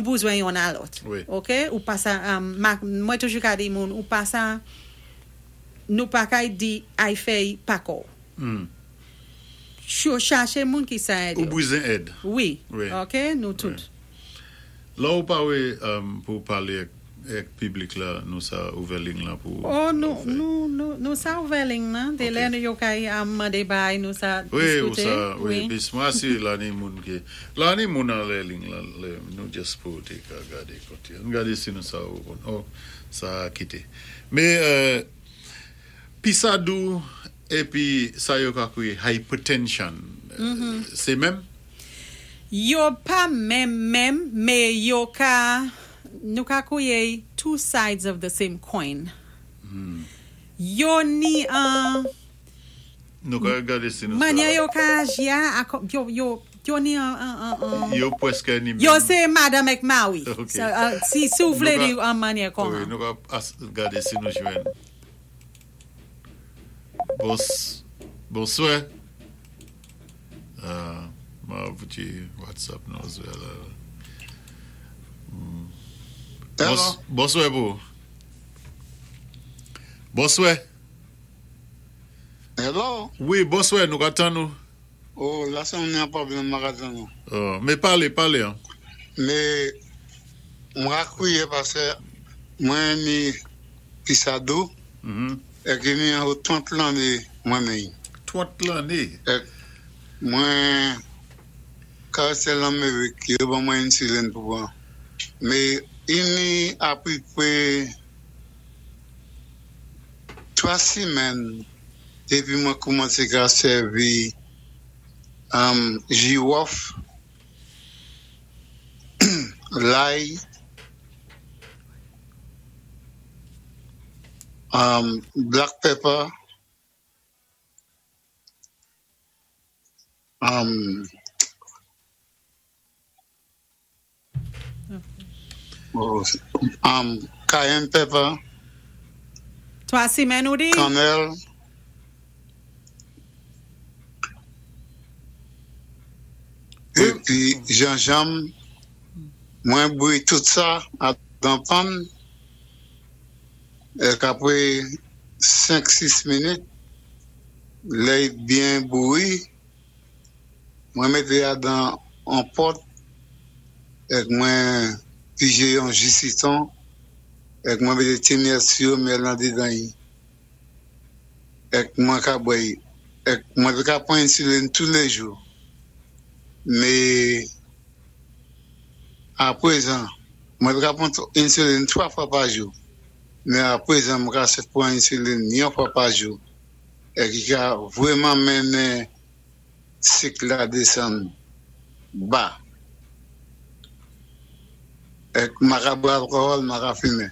Bizwen yonn a lòt. Ok, ou pa sa, mwen toujou ka di moun, ou pa sa, nou pa kay di ay fè pa kò. Chaché moun ki sa èd Ou bizwen èd. Wi, ok, nou tout. La ou pa wé pou palé èk piblik la, nou sa ouvè ling la pou Oh, nou, nou, nou, nou sa ouvè ling la, dé lè nou yo kay mandé bay, nou sa diskité. Wi, ou sa, wi, pis mwen asiré la ni moun ki, la ni moun anlè ling la, lè nou just pou té ka gadé koté. Ann gadé si nou sa ou konn, oh, sa kité. Mé, pisadou épi sa yo ka kwiyé hypertension, sé menm? Yo pa menm menm, mé yo ka, nou ka kwiyé two sides of the same coin. Yo ni an Nou ka gadé si nou sa. Mannyè yo ka aji a, yo, yo, yo ni an, an, an, Yo pwèskè ni menm. Yo sé madanm èk mawi. Si, si ou vlé di an mannyè kon Wi, nou ka gadé si nou jwenn. Bons, bonswè. Ma di WhatsApp nou zwe la. Hello. Bonswè pou. Bonswè. Hello. Wi, bonswè, nou ka tann nou. Oh, la sé yon pwoblèm m ka tann nou. Oh, mé palé, palé an. Mé mwen ka kwiyé paské mwen ni pisadou èk ni an 30 lanné mwen ni. 30 lanné? Èk mwen ka rété Lanmérik, yo ban mwen insulin pou pwan. Mé ini apipwé 3 simèn dépi mwen koumansé ka sèvi jiwòf, lay, black pepper, cayenne pepper, 3 simèn ou di? Kannèl, épi jenjanm, mwen bouyi tout sa dan pann, èk apwé 5, 6 minit, lè y byen bouyi, mwen mété adan an pòt èk mwen pijé yon ji sitwon èk mwen mété ti myèl siwo myèl andidan y èk mwen ka bwè y èk mwen té ka pwan insulin toulèjou, mé aprezan mwen té ka pwan insulin 3 fwa pa jou, mé aprezan mwen ka pwan insulin yon fwa pa jou èk ki ka vwèman mennen sik la désann ba. Èk mwen ka bwè alkòhòl, mwen ka fimen.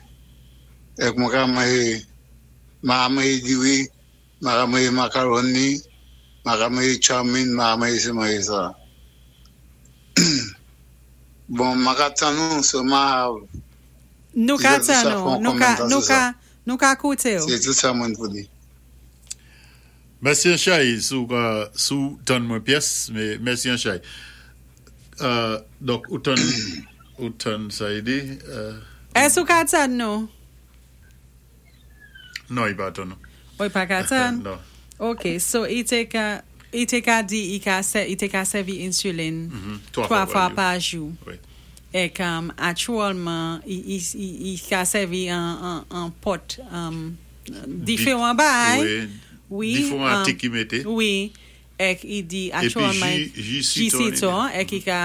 Èk mwen ka manjé, mwen ka manjé diri, mwen ka manjé makaroni, mwen ka manjé chow-mein, mwen ka manjé si manjé sa. Bon, mwen ka tann nou, so mwen av Nou ka tann nou, nou ka, nou ka, nou ka kouté ou. Sé tout sa mwen pou di. Mèsi an chay si ou ka si ou tann mwen pyès mé mèsi an chay. Donk ou tann ou tann sa y di. Èske ou ka tann nou? Non, i pa tann nou. Oh, i pa ka tann? Non. Ok, so i té ka i té ka di i ka sè i té ka sèvi insulin 3 fwa pa jou. Wi. Èk aktyèlman i i i ka sèvi an an pòt diferan bagay. Wi. Diferan atik ki mété. Wi. Èk i di aktyèlman Épi ji ji sitwon. Èk i ka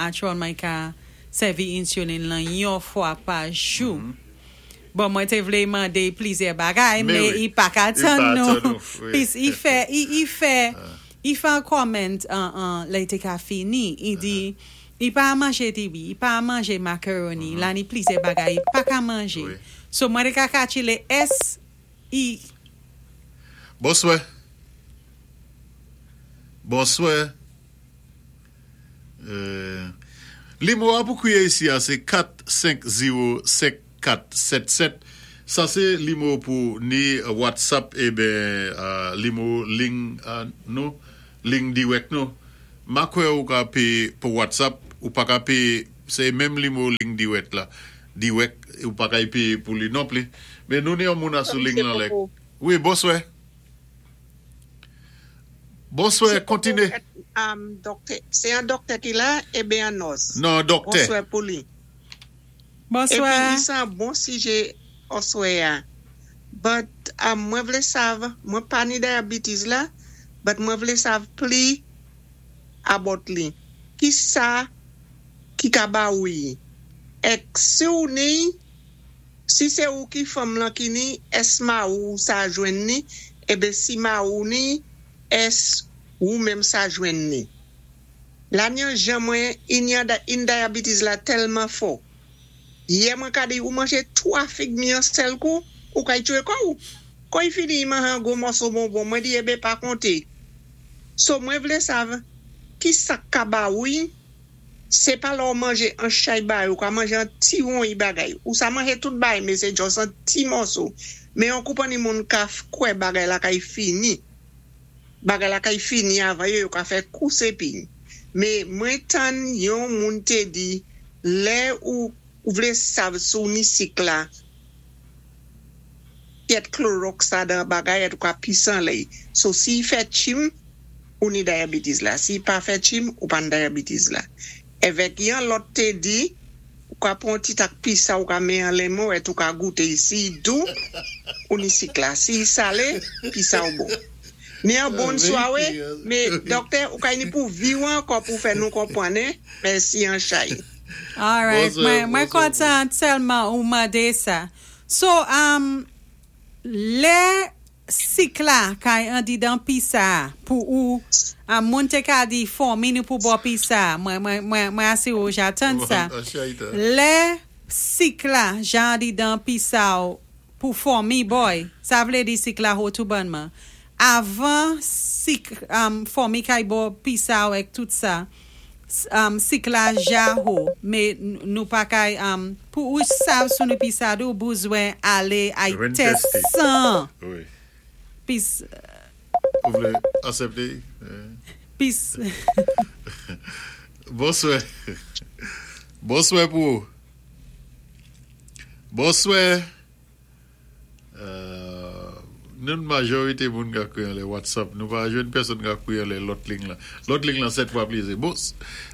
aktyèlman i ka sèvi insulin lan yon fwa pa jou. Bon, mwen té vlé mandé plizyè bagay, mé i pa ka tann nou. Pis i fè i i fè i fè an comment an lè i té ka fini. I di i pa manjé diri, i pa manjé makaroni, la ni plizyè bagay i pa ka manjé. So mwen té ka katchilé ès i Bonswè. Bonswè. Limwo a pou kwiye isi a sé 4 5 0 5 4 7 7. Sa sé limwo pou ni WhatsApp eben limwo ling nou, ling dirèk nou. Ma kwè ou ka pé pou WhatsApp, ou pa ka pé. Sé menm limo ling diwèk la. Diwèk ou pa kay péyé pou li non pli. Mé nou ni yon moun a sou ling lan lè. Wi, bonswè. Bonswè, kontiné. Se yon dòktè ki la eben yon nòs? Non, dòktè. Bonswè pou li. Bonswè. Epi li san bon sijè oswè a. But mwen vlé sav, mwen pa ni diabetes la, but mwen vlé sav pli about li. Ki sa ki ka ba ou yi? Ek si ou ni, si sé ou ki fanm lan ki ni, ès mari ou sa jwenn ni, eben si mari ou ni, ès ou menm sa jwenn ni? La ni jan mwen in diabetes la tèlman fò. Yè mwen ka di ou manje 3 fig mi an sèl kou, ou kay tchwé kò ou. Kon i fini i manje an gwo mòso bonbon, mwen di eben pa konté. So mwen vlé sav ki sak ka ba ou i, sé pa lè ou manje an chay bagay, ou ka manje an ti won i bagay. Ou sa manje tout bagay men sé just an ti mòso. Men yon konpanni moun ka kwè bagay la kay fini. Bagay la kay fini avan yo, yo ka fè kous epi. Men mwen tann yon moun té di lè ou vlé sav si w ni sik la pyèt klorox la dan bagay et ou ka pise anlè so si i fè tchim ou ni diabetes la si i pa fè tchim ou pa ni diabetes la evèk yon lòt te di ou ka pran yon ti tak pisa ou ka men anlè men w et ou ka goute si i dou ou ni sik la si i sale pisa ou bon ni an bon swawe me dòktè ou ka ni pou vi w ankò pou fè nou konpwann hein mèsi an chay. Alright, mwen kontan tèlman ou mande sa. So, um, lè sik la kay andidan pisa a pou ou, um, moun te ka di fòmi nou pou bò pisa a, mwen, mwen, mwen, mwen asire ou jatann sa. Lè sik la ja andidan pisa ou pou fòmi bòy, sa vle di sik la ho tou bònman. Avan sik, um, fòmi kay bò pisa ou ek tout sa, um, sik la ja ho, me nou pa kay, um, pou ou sav sou nou pisa dou bouzwen ale ay tès san. Wi. Pis. Ou vle asepte? Pis. Bonswè. Bonswè pou ou. Bonswè. Nou majorite moun ka kwe anlè WhatsApp nou pa jwenn pèsonn ka kwe anlè lòt ling lan. Lòt ling lan 7 fwa pli eze. Bon,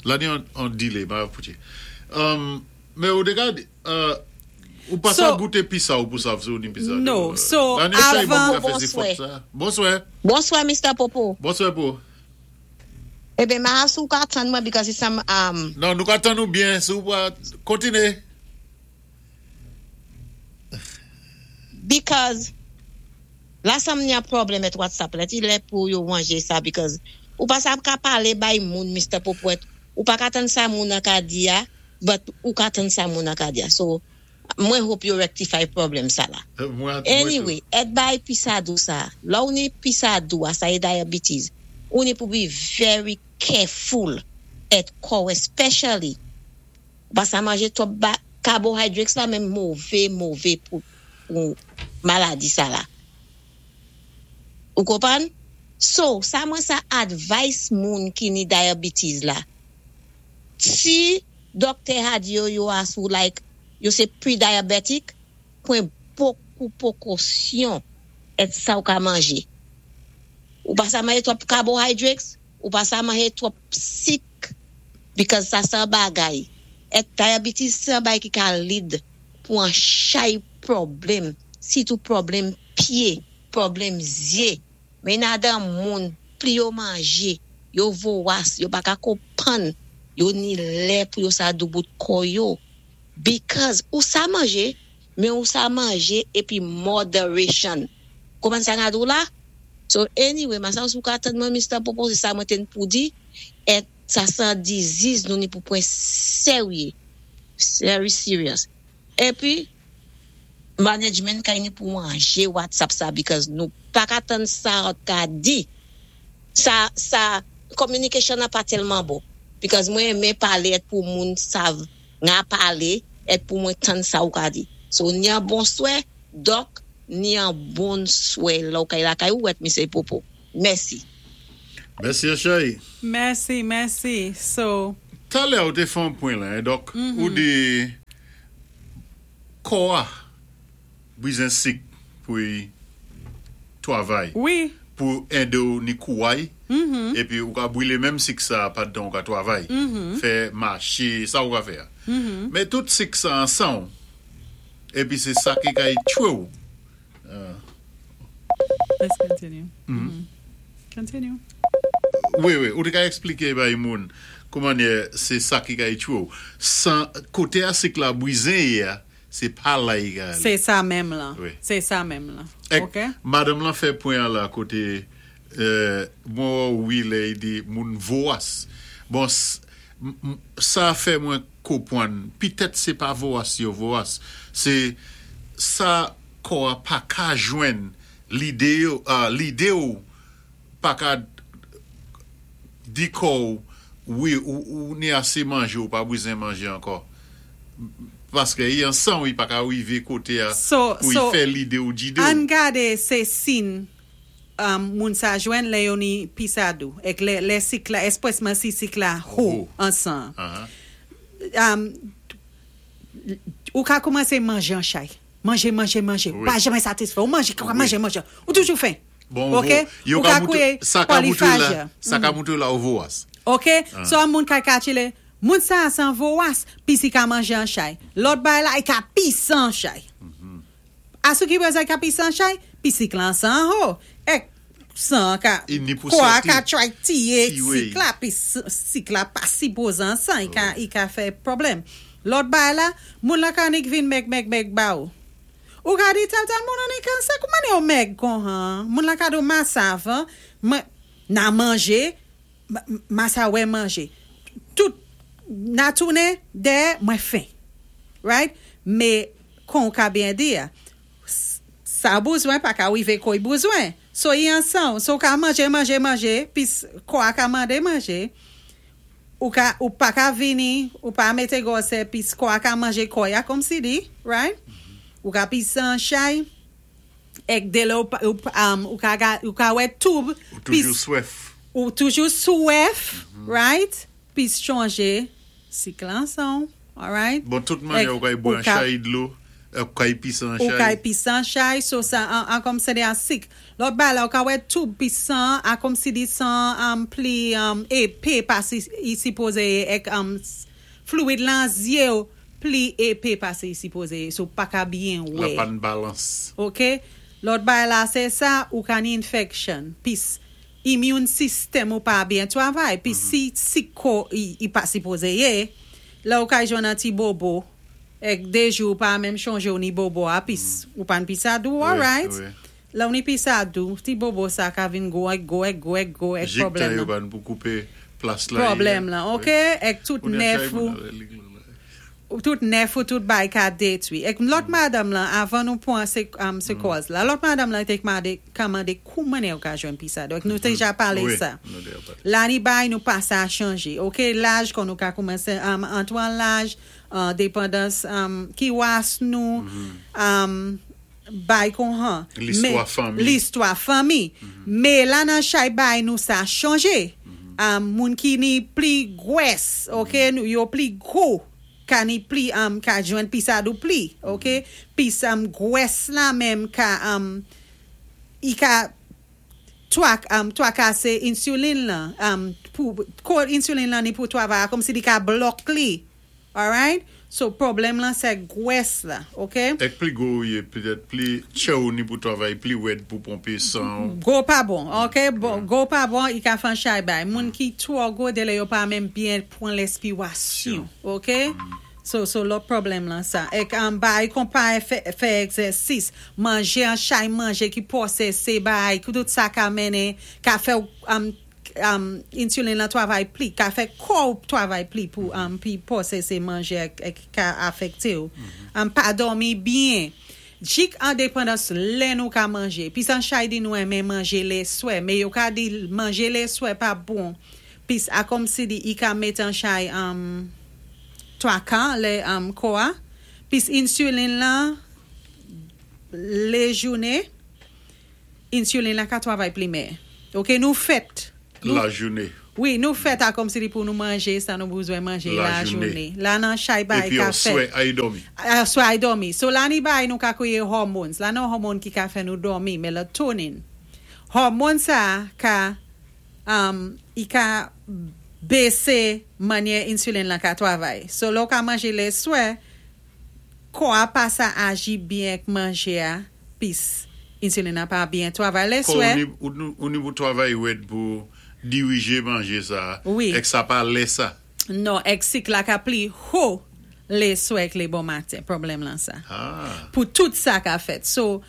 la ni an delay, ma poutye. Men ou te ka ou pa sa goute pisa ou pou sav si ou ni pisa. No, so avan. Bonswè. Bonswè. Bonswè Mister Popo. Bonswè pou. Eben ma si ou ka tann mwen because it's some um. Non, nou ka tann ou byen si ou pa kontine. Because la sam ni a problem et WhatsApp la ti lè pou yo ranje sa because ou pa sa ka pale bay moun Mister Popoet ou pa ka tann sa moun an ka di a but ou ka tann sa moun an ka di a so mwen hope yo rectify problem sa la anyway et bay pisadou sa lè ou ni pisadou a sa e diabetes ou ni pou be very careful et kòw especially Ou pa sa manje twòp ba carbohydrates la menm move move pou pou maladi sa la. Ou konprann? So, sa mwen sa advice moun ki ni diabetes la. Si doktè ha di yo yo a sou like yo se pre-diabetic, pran bokou pokosyon et sa ou ka manje. Ou pa sa manje twòp carbohydrates, Ou pa sa manje twòp sik because sa se an bagay et diabetes se an bagay ki ka lead pou an chay pwoblem sitou pwoblem pye pwoblem zye men nadan moun pli yo manje yo vowas yo pa ka konpann yo ni lè pou yo sa doubout kò yo because ou sa manje men ou sa manje epi moderation konprann sa na di w la. So anyway ma sa ou ka tann mwen Mister Popo se sa mwen te n pou di et sa san disease nou ni pou pwen serye very serious epi management kay ni pou ranje WhatsApp sa because nou paka tann sa ot ka di sa sa communication an pa telman bon because mwen renmen pale et pou moun sav nga pale et pou mwen tann sa ou ka di so ni an bonswè Doc ni an bon swè lè w kay lakay ou wèt misye popo. Mèsi. Mèsi an cheri. Mèsi mèsi so. Talè ou té fè on pwen la, dòk, ou di kò-a bizwen sik pou i twavay, pou édé-w ni kouway, épi ou ka bwilé menm sik sa pandan ou ka twavay, fè maché, sa ou ka fè a. Men tout sik sa an san'w, épi sé sa ki kay tchwé-w. Let's continue. Continue. Wi, wi, ou té ka ekspliké bay moun koumannyè sé sa ki kay tchwé-w. Koté a sik la bwizen yé a, sé pa la i ka alé. Sé sa menm lan. Sé sa menm lan. Ok. Madanm lan fè pwen an la koté mwen wè w wi lè i di moun vowas. Bon, sa fè mwen konpwann pitèt sé pa vowas yo vowas, sé sa kò a pa ka jwenn lidé yo, lidé w pa ka di kò w wi ou ni asé manjé ou pa bwizen manjé ankò paskè i an sanw i pa ka rivé koté a pou i fè lidé w djidé w. Ann gadé sé sin moun sa jwenn lè yo ni pisadou èk lè sik la espresman si sik la ho an san an ou ka koumansé manjé an chay manjé manjé manjé ou pa janmè satisfè ou manjé manjé manjé ou toujou fen. Bon, Ok, yo ou ka ka moutre, kouye sa ka moutre la, polifaj. sa ka moutre la ou vowas. Ok, so an moun ka katchile, moun sa a san vowas, pis i ka manje an chay. Lòt bay la, i ka pise an chay. Asou ki bezwen ka pise an chay, pis sik lan san ho. Èk, san ka, I ni pou kò a sòti. ka try tiye Tiwe. sik la, pis sik la pa sipoze an san, i ka, i ka fè pwoblèm. Lòt bay la, moun la ka nik vin mèg mèg mèg ba ou. Ou ka di tèl tèl moun an ni kansè, kouman ni ou mèg konhan? Moun la ka di ou masav, mwen, na manje, masa wè manje. Tout, na tounen dèyè, mwen fen. Right? Mé, kon ou ka byen di a, sa bouzwen pa ka rivé koy bouzwen. So i an san, so ou ka manje, manje, manje, pis kò a ka mande manje, ou ka, ou pa ka vini, ou pa mété gwosè, pis kò a ka manje kò ya kòm si di, right? Ou ka pise an chay, èk dé lè ou, pa- ou, ou ka, ou ka wè toub, Ou toujou swèf. ou toujou swèf, right? Pis chanje sik lan san, alright? Bon, tout mannyè ou kay bwè an chay dlo, ou kay pise an Ou kay chay. pise an chay, so sa an, an kòm se de an sik. Lòt bay la, ou ka wè toub pi san, a kòm si di san pli épé pasi i sipoze èk fluid lan zyé ou pli épé pasi i sipoze, so pa ka byen La wè. pa n balans. Ok? Lòt bay la sé sa, ou ka ni infection. Pis immune system ou pa byen twavay. Pi si sik kò i, i pa sipoze yé, la ou ka jwenn an ti bobo, èk dé jou ou pa menm chonjé ou ni bobo a, pis ou pa n pisadou, alright? La ou ni pisadou, ti bobo sa ka vin gwo èk gwo èk gwo èk gwo èk Jik tan pwoblèm yo lan. ban pou koupé plas la. Pwoblèm lan, ok? Èk tout Ou ni an nèf chay ou, moun nan lig lan la. ou tout nèf ou tout bay ka détwi. Èk lòt madanm lan, avan nou pwan sé, sé kòz la, lòt madanm lan té mandé, ka mandé kouman yo ka jwenn pisadou. Èk nou déja palé Wi, sa. nou déja palé. La ni bay nou pa sa chanje. Ok, laj kon nou ka koumansé antwan laj, dépendance ki was nou, bay kon han. Listwa Mé- fanmi. Listwa fanmi. Mé la nan chay bay nou sa chanje. Moun ki ni pli gwès, ok, nou yo pli gwo, ka ni pli, ka jwenn pisadou pli, ok? Pis gwès la menm ka, i ka twakasé insulin lan, pou, kò insulin lan ni pou twavay, kòm si li ka blòk li, alright? So, pwoblèm lan sé gwès la, ok? Èk pli gwo ou yé, petèt pli tchè ou ni pou twavay, pli wèd pou ponpé san. Gwo pa bon, ok? Bon, gwo pa bon, i ka fè chay bay. Moun ki twò gwo dé lè yo pa menm byen pwan lèspiwasyon, ok? So lòt pwoblèm lan sa. Èk bay kon pa fè, fè egzèsis, manjé an chay manje ki pwosésé bay, ki tout sa ka mennen, ka fè insulin lan twavay pli, ka fè kò ou twavay pli pou pi pwosésé manje èk, èk ka afèkté ou. Pa dòmi byen. Jik an dépendance lè nou ka manje. Pis an chay di nou renmen manje lè swè, mé yo ka di manje lè swè pa bon. Pis a kòm si di i ka mét an chay twakan lè kò a. Pis insulin lan lè jounen, insulin lan ka twavay pli mèyè. Ok, nou fèt. La jounen. Wi, nou fèt a kòm si di pou nou manjé sa nou bizwen manjé La la jouné. jouné. La nan chay bay Épi ka an fèt. swè ay dòmi. Aswè ay dòmi. So la ni bay nou ka kwéyé hormones. La nan hormone ki ka fè nou dòmi, melatonin. Hormone sa ka i ka bésé mannyè insulin lan ka twavay. So lè ou ka manjé lé swè, kò a pa sa aji byen k manjé a, pis insulin an pa byen twavay lé Kò swè. ou ni, ou, nou- ou ni pou twavay wèd pou dirijé manjé sa. Wi. Èk sa pa lè sa. Non, èk sik la ka pli ho lé swè k lé bon maten. Pwoblèm lan sa. Pou tout sa ka fèt. So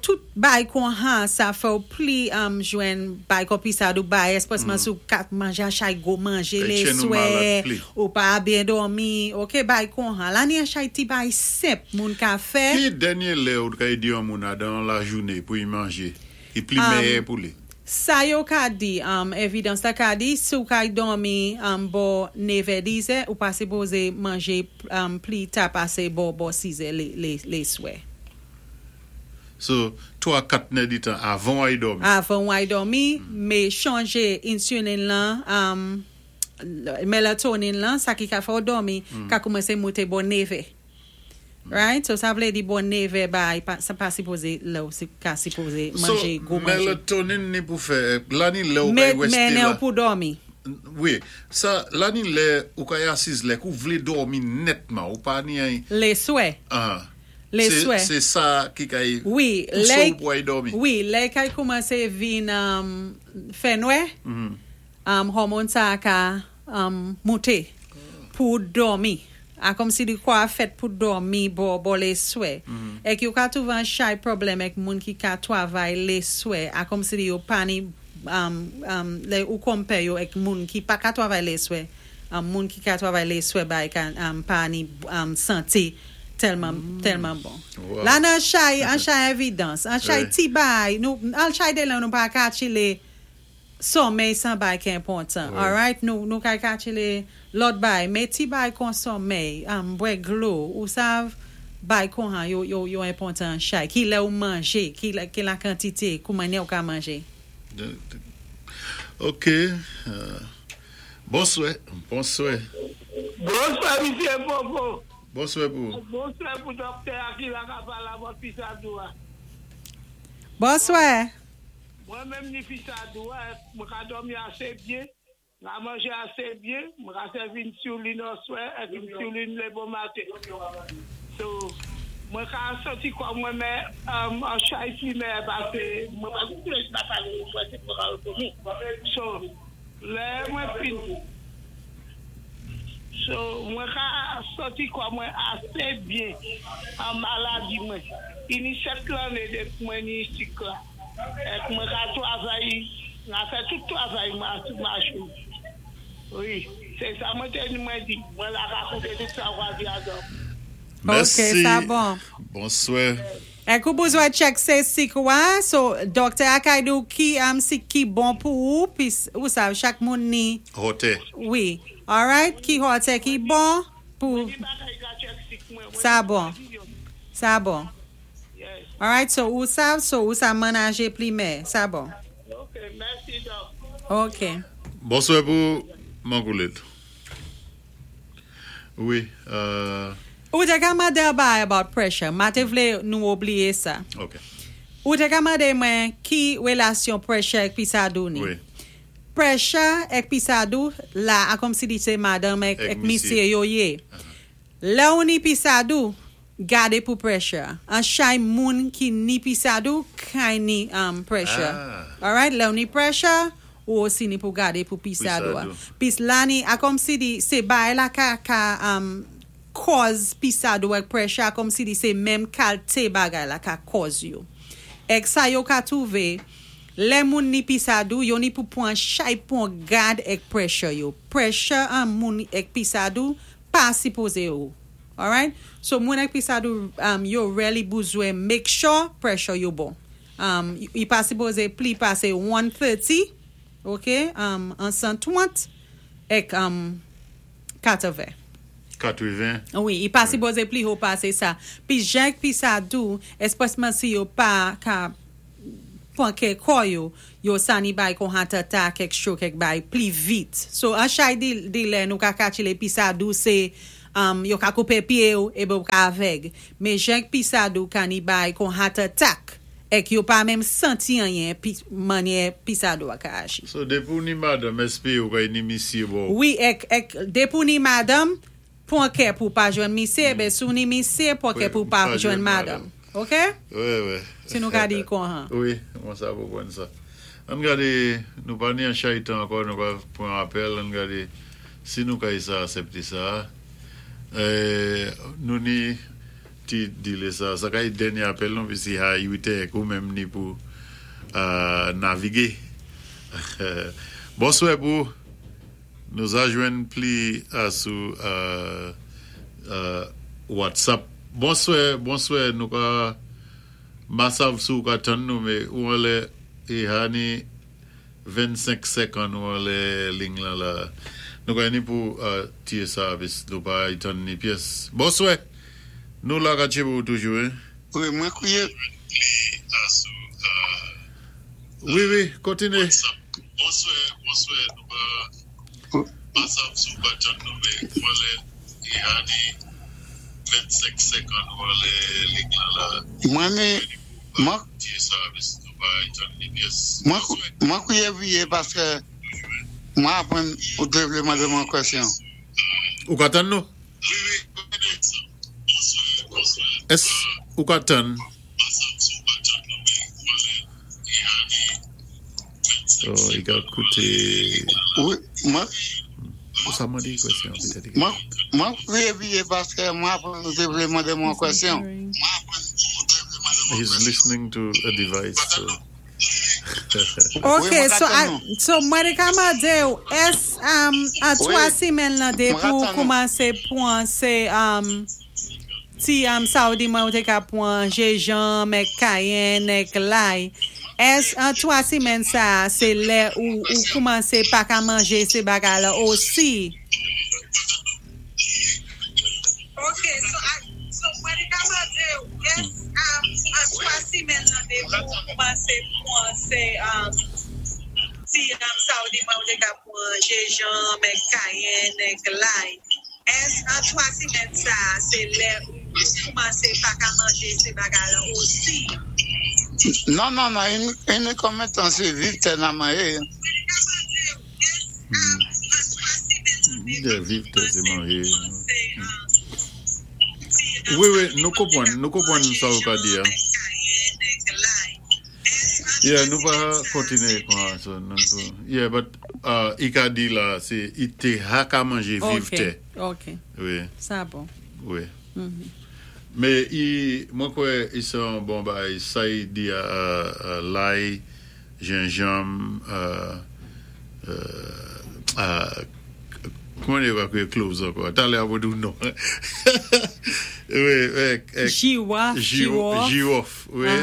tout bay kon han, sa fè ou pli jwenn bay kon pisadou bay, espwèsman sou kat manje an chay gwo manje E lé chen nou swè, malad pli. Ou pa byen dòmi, ok, bay kon han. La ni an chay ti bay senp moun ka fè. Ki dènyé lè ou ka di an moun a dan la jouné pou y manjé? Ki pli méyè pou li? Sa yo ka di, evidans la ka di, si ou ka dòmi bò 9 10 ou pa sipozé manjé pli ta pasé bò 6 lé swè. So, 3 4 nè di tan avan ay dòmi. Avan ay dòmi, mé chanjé insulin lan, melatonin lan, sa ki ka fè ou dòmi, ka koumansé mouté bò 9. Right? So sa vlé di bò 9 bay, pa, sa pa sipozé lè ou si, ka sipozé manjé So, gwo manjé. Melatonin ni pou fè, la ni lè ou Mé, kay westé mennen la. ou pou dòmi. Wi, sa, la ni lè ou kay asiz lè kou vlé dòmi nètman, ou pa ni ay... Lé swè. Lé Sé, swè. sé sa ki kay Wi, pousé lè, ou pou ay dòmi. Wi, lè kay koumansé vin fè nwè, hormone sa ka mouté pou dòmi. A kòm si di kò a fèt pou dòmi bò lé swè. Èk yo ka twouvé an chay pwoblèm èk moun ki ka twavay lé swè. A kòm si di yo pa ni, lè ou konpè yo èk moun ki pa ka twavay lé swè. Moun ki ka twavay lé swè bay ka pa ni santé tèlman, tèlman bon. La nan chay, an chay evidans, an chay ti bay, nou, an chay dé lè nou pa ka chilé somèy san bay ki enpòtan. Alright? Nou ka kachile lòt bay, mé ti bay kon somèy, bwè dlo, ou sav bay kon han yo enpòtan an chay. Ki lè ou manjé, ki la kantité, kou mannyè ou ka manjé. Ok. Bonswè, bonswè. Bonswè, misyé Popo. Bonswè pou. Bonswè pou doktè Akila ka palé avèk pisadou a. Bonswè. Mwen menm ni pisadou a, mwen ka dòmi asé byen, mwen manjé asé byen, mwen ka sèvi insulin oswè, èk insulin lé bon maten. So, mwen ka santi kò mwen mé an chay pli mé pasé mwen pa konnen si pa palé mwen sé pou ka rekonnu. So, lè mwen fin So, mwen ka santi kò mwen asé byen an maladi mwen. I ni 7 lanné dépi mwen ni sik la. Èk mwen ka twavay, mwen fè tout twavay mwen sou machin. Wi, sé sa mwen té ni mwen di. Mwen la ka kouté tout sa ou ka di adan. Mèsi. Ok, sa bon. Bonswè. Èk ou bizwen check sé sik ou a, so doktè a kay di ou ki sik ki bon pou ou, pis ou sav chak moun ni, Hotè. Wi, alright, ki hotè ki bon pou, Mwen di bagay ka check sik mwen. Mwen Sa di bon. mwen di yo. Sa bon. Yes. Alright, so ou sav, so ou sa manaje pli mé, sa bon. Ok, mèsi dòk. Ok. Bonswè pou Mangoulet. Wi, Ou té ka mandé bay about pressure, ma té vlé nou oubliyé sa. Ok. Ou té ka mandé mwen ki wélasyon pressure èk pisadou ni. Wi. Pressure èk pisadou la a kòm si di sé madanm èk, Èk èk misyé. misyé yo yé. Lè ou ni pisadou, gadé pou pressure. An chay moun ki ni pisadou, kay ni pressure. Alright, lè ou ni pressure, ou osi ni pou gadé pou pisadou. Pisadou. Pis la ni, a kòm si di, sé bay la ka kòz pisadou èk pressure, a kòm si di sé menm kalité bagay la ka kòz yo. Èk sa yo ka twouvé, lè moun ni pisadou, yo ni pou pwan chay pwan gad èk pressure yo. Pressure an moun èk pisadou, pa sipozé yo. Alright? So moun èk pisadou, yo really bizwen make sure pressure yo bon. I pa sipozé pli pasé 130, ok? An 130 èk 80. 80. Wi, i pa sipozé pli ho pasé sa. Pi jan pisadou, espwèsman si yo pa ka pwan kè kò yo, yo sa ni bay kon heart attack èk stroke èk bay pli vit. So an chay di di lè nou ka katchile pisadou sé um yo ka koupé pyé ou épi ou ka avèg. Mé jan k pisadou ka ni bay kon heart attack èk yo pa menm santi anyen pi mannyè pisadou a ka aji. So depi ou ni madanm èspé ou kay ni misyé bò ou? Wi èk èk depi ou ni madanm Pwan kè pou w pa jwenn misye eben si w ni misye pwan kè pou w pa jwenn madanm ok si nou ka di konha. Wi mwen sa konprann sa. Ann gade nou pa ni an chay tan ankò nou pa pran apèl ann gade si nou kay sa asèpte sa nou ni ti dile sa sa kay dènye apèl nou pisi ha 8 è ou menm ni pou navige bonswè pou ou. Nou za jwenn pli a sou WhatsApp. Bonswè bonswè nou ka ma sav si ou ka tann nou me ou anlè e ha ni 25 sèkan nou anlè ling lan la nou ka ni pou tiye sa pis nou pa y tann ni pyès bonswè nou la ka tchebe ou toujou hein. Wi mwen kriye. Wi wi kontinye. Bonswè bonswè nou pa pa sav si w pa tann nou men ou anlè e ane 25 50 ou anlè lig lan la Mwen mi mwen tiye sa vis nou pa tann ni pyès mwen mwen kriye vye paske mwen aprann ou te vle mande mwen kwèsyon. Ou ka tann nou? Èske ou ka tann? Oh, i ka koute. Wi, mwen. Ou sa mande kwèsyon petèt. Mwen, mwen kriye paske mwen aprann ou te vle mande mwen kwèsyon. He's listening to a device. So. Ok, so, so mwen te ka mande ou, ès um, a 3 simèn lan depi ou koumansé pwan sé um, ti um, sa ou di mwen ou te ka pwan jenjanm èk kayenn èk lay, ès an 3 simèn sa a sé lè ou ou koumansé pa ka manjé sé bagay la osi? Ok, so, so mwen te ka mande ou, ès um, an 3 simèn lan depi ou koumansé pwan sé um, ti um, sa ou di mwen ou te ka pwan jenjanm èk kayenn èk lay, Ès an 3 simèn sa a se lè ou koumanse pa ka manje se bagay la osi? Non non non ini konbyen tan se viv tè nan manje. Viv tè se manje. Wi wi nou konprann nou konprann sa ou ka di a. Yeah nou pa kontinye kon sa yeah but i ka di la se i te ha ka manje viv tè. Ok wi. Sa bon. Wi. Me i mwen kwè i se yon bon bagay sa i di a lay, jenjanm kouman yo ka kriye cloves ankò talè a mwen di w non wi Jiwaf, jiwòf. Jiwòf wi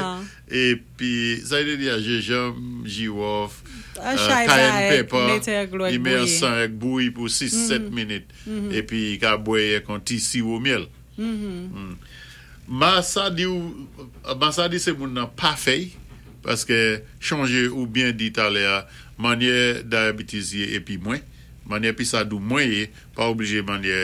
epi sa yo te di a jenjanm, jiwòf cayenne pepper li met ansanm ak bouyi pou 6 7 minit epi li ka bwè ak yon ti siwo myèl Ma sa di w ma sa di se moun nan pa fèy paske chonje ou byen di talè a manyè diabetes ye epi mwen manyè pisadou mwen ye pa oblije manyè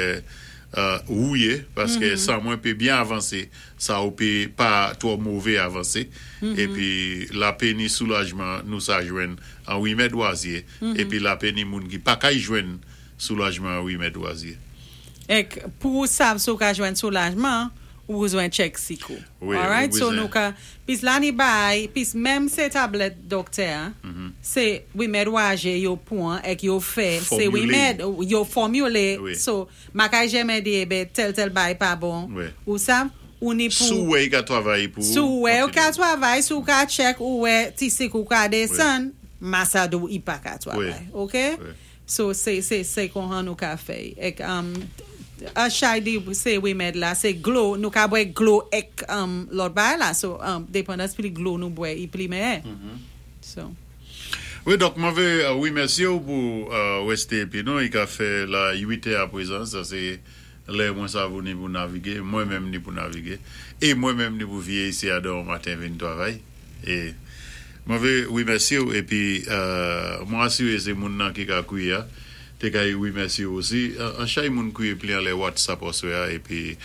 ou ye paske sa mwen pe byen avanse sa ou pe pa twò move avanse epi lape ni soulajman nou sa jwenn an rimèd wazye epi lape ni moun ki pa kay jwenn soulajman an rimèd wazye. Ek pou ou sav si ou ka jwenn soulajman, ou bezwen check sik ou. Wi, ou Alright, so bezwen. nou ka, pis la ni bay, pis menm se tablèt doktè a, se rimèd waje yo pwan ek yo fè, se Fòmile. rimèd, yo fòmile, Wi. so ma kay jèmè di ebe tèl tèl bay pa bon, Wi. ou sav, ou ni Si pou, ou wè i ka travay pou si ou, ou wè ou ka kontinye. travay, si ou ka check, ou wè ti sik ou ka desann, ma sa di ou i pa ka Wi. travay, ok? Wi. So se se se konhan nou ka fè. Ek um, a chay di se remèd la, se glo, nou ka bwè glo ek um, lòt bagay la. So um, depandans pli glo nou bwè, i pli meyè. So. Wi, donk mwen vle remèsye ou pou reste epi nou, i ka fè la 8 è aprezan, sa se lè mwen sa vou ni pou navige, mwen menm ni pou navige, e mwen menm ni pou vye isi a demen maten vin travay. E. Mwen vlé wimèsyé-w épi mwen asiré sé moun nan ki ka kwiyé-a té ka wimèsyé-w osi. An chay moun kwiyé pli anlè WhatsApp oswè-a épi.